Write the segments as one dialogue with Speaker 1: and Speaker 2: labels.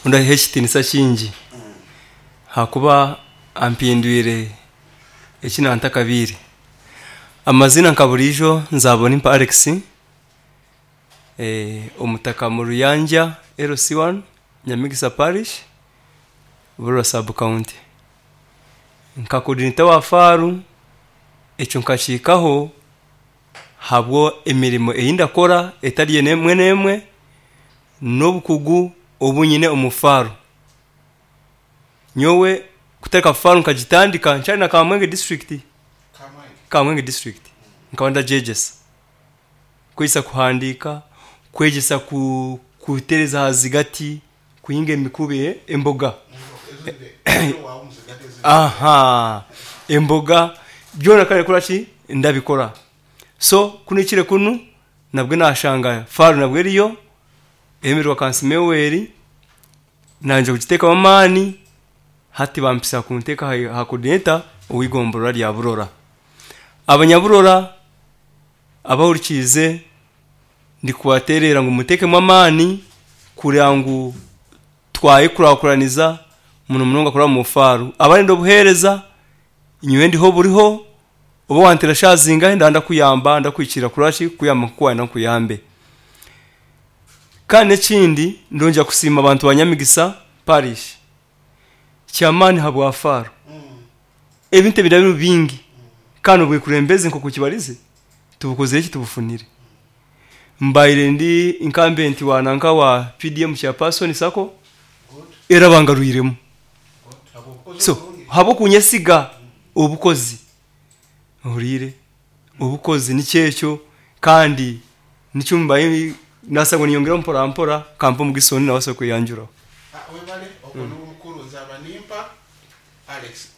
Speaker 1: Ou ndaha ekitiinisa kingi ahakuba ampindwire eki naatakabaire. Amaziina nka buriijo Nzabonimpa Alex, omutaka Muruyangya LC1, Nyamigisa Parish, Burora Sub County. Nka coordinator wa Faaru, ekyo nkakihikaho ahabw'emirimo ei ndakora etari emwe n'emwe n'obukugu obu nyine omu Faaru. Nyowe kutandika Faaru nkagitandika nkyari na Kamwenge disiturikiti, Kamwenge disiturikiti nkaba ndagyegyesa. Kwegyesa kuhandiika, kwegyesa kutereeza aha zigati, kuhinga emikubi, emboga. Aha emboga byona nkaba ndikora ki? Ndabikora. So ku nahikire kunu nabwe nashanga Faaru nabwe eriyo, eyemererwa Kansiime Yoweri, nangye kugiteekamu amaani, hati bampisa kunteeka aha coordinator ow'eigomborora rya Burora. Abanyaburora abahurikiize ndikubateerera ngu muteekemu amaani kureba ngu twayekurakuraniza muno munonga kuraba omu Faaru. Abarenda obuheereza, nyowe ndiho buriho, oba wanteera shaaha zingahi ndaba ndakuyamba, ndakuhikiirira kurora ki, kukuyamba nk'oku wayenda nkuyambe. Kandi n'ekindi, ndongyera kusiima abantu ba Nyamigisa Parish ky'amaani ahabwa Faaru. Ebintu ebiraba birimu bingi kandi obwekurembezi nk'oku kibarize tubukozire ki tubufunire. Mbaire ndi incumbent wa nanka wa PDM chairperson sacco era bangarwiremu. So ahabw'okunyesiga obukozi ohuriire obukozi nikyo ekyo kandi nikyo mbaire naasa ngu niinyongyeraho mpora mpora kampe omugisa ondi nawe abaase kweyanjuraho.
Speaker 2: Webale ogwo niwe mukuru Nzabanimpa Alex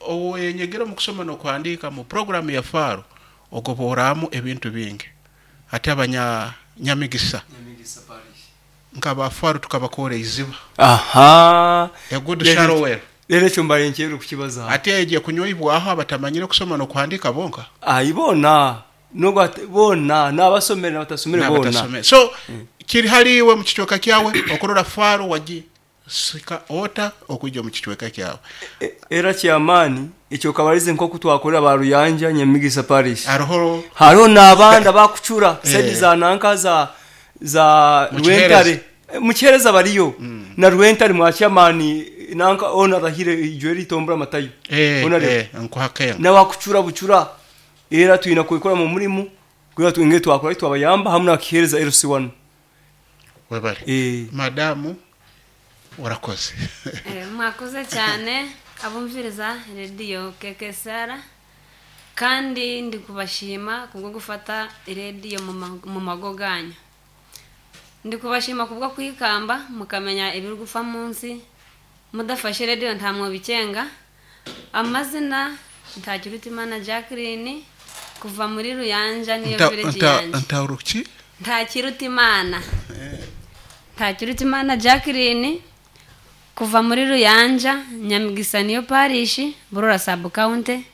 Speaker 2: oweyenyegire omu kushoma n'okuhandiika mu puroguraamu ya Faro ogobooraamu ebintu bingi. Hati abanya Nyamigisa nka ba Faro tukabakoora eiziba.
Speaker 1: Aha!
Speaker 2: A good shallow well.
Speaker 1: Reero ekyo mbaire nkyerire kukibazaho.
Speaker 2: Hati egyo ekunyoibwaho abatamanyire kusoma n'okuhandiika bonka?
Speaker 1: Ayi boona. N'ogu ati, Boona, n'abasomere n'abatasomere boona.
Speaker 2: N'abatasomere. So, kiri hali iwe omu kicweka kyawe okurora Faro wagisika ota okwija omu kicweka kyawe.
Speaker 1: Era ky'amaani ekyo okabarize nk'oku twakorera ba Ruyanja Nyamigisa Parish.
Speaker 2: Hariho.
Speaker 1: Hariho n'abandi abakucura saidi za nanka za za
Speaker 2: Mu Kihereza.
Speaker 1: Rwentare. Mu Kihereza bariyo. Na Rwentare mwa chairman nanka ona arahire ijwe ritombora Matayo.
Speaker 2: Eh,
Speaker 1: Ona ariyo.
Speaker 2: eh, nkuhakenga.
Speaker 1: N'abakucura bucura. Era twine kwekora mu murimo kugira twongere twakora ki twabayamba hamwe na Kihereza LC1.
Speaker 2: Webale.
Speaker 1: Eh.
Speaker 2: Madamu urakoze.
Speaker 3: Mwakoze cyane abumviriza rediyo KKSR kandi ndi kubashima kubwo gufata rediyo mu mago ganyu. Ndi kubashima kubwo kwikamba mukamenya ibiri gufa munsi mudafashe rediyo nta mwobikenga. Amazina Ntakirutimana Jacqueline kuva muri Ruyanja niyo village yanjye.
Speaker 2: Ntauruki?
Speaker 3: Ntakirutimana. Ntakirutimana Jacqueline kuva muri Ruyanja Nyamigisa niyo parish Burora sub county.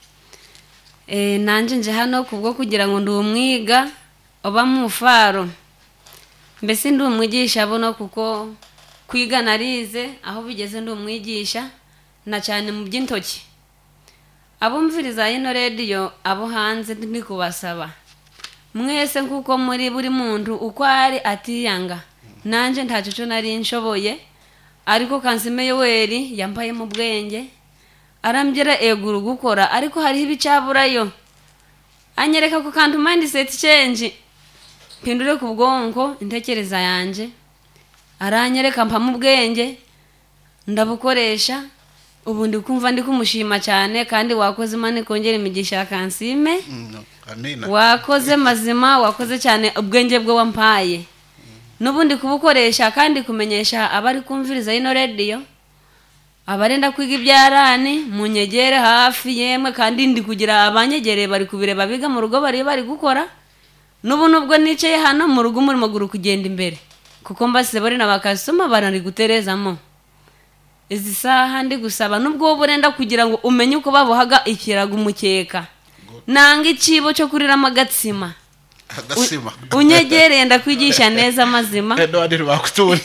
Speaker 3: Eh, nanje nje hano kubwo kugira ngo ndi umwiga oba mu faro mbese ndi umwigisha buno kuko kwiga narize aho bigeze ndi umwigisha na cyane mu by'intoki. Abumviriza ino rediyo abo hanze ndi kubasaba mwese nkuko muri buri muntu uko ari atiyanga nanjye ntacyo cyo nari nshoboye ariko Kansime Yoweri yambaye mu bwenge arambwira eguru gukora ariko hariho ibicaburayo anyereka ku kantu mindset change mpindure ku bwonko intekereza yanjye aranyereka mpamo ubwenge ndabukoresha ubu ndi kumva ndi kumushima cyane kandi wakoze Imana ikongera imigisha ya Kansime.
Speaker 2: Amina.
Speaker 3: Wakoze mazima wakoze cyane ubwenge bwe wampaye n'ubundi kubukoresha kandi kumenyesha abari kumviriza ino rediyo abarenda kwiga ibyarani munyegere hafi yemwe kandi ndi kugira abanyegereye bari kubireba biga mu rugo bari bari gukora n'ubu nubwo nicaye hano mu rugo umurimo guri kugenda imbere kuko mbase bari na bakasoma barari guterezamo izi saha ndi gusaba nubwo wowe urenda kugira ngo umenye uko babohaga ikirago umukeka nanga icibo cyo kuriramo agatsima
Speaker 2: Agasima.
Speaker 3: Unyegereye ndakwigisha neza amazima
Speaker 2: Edward bakutunda.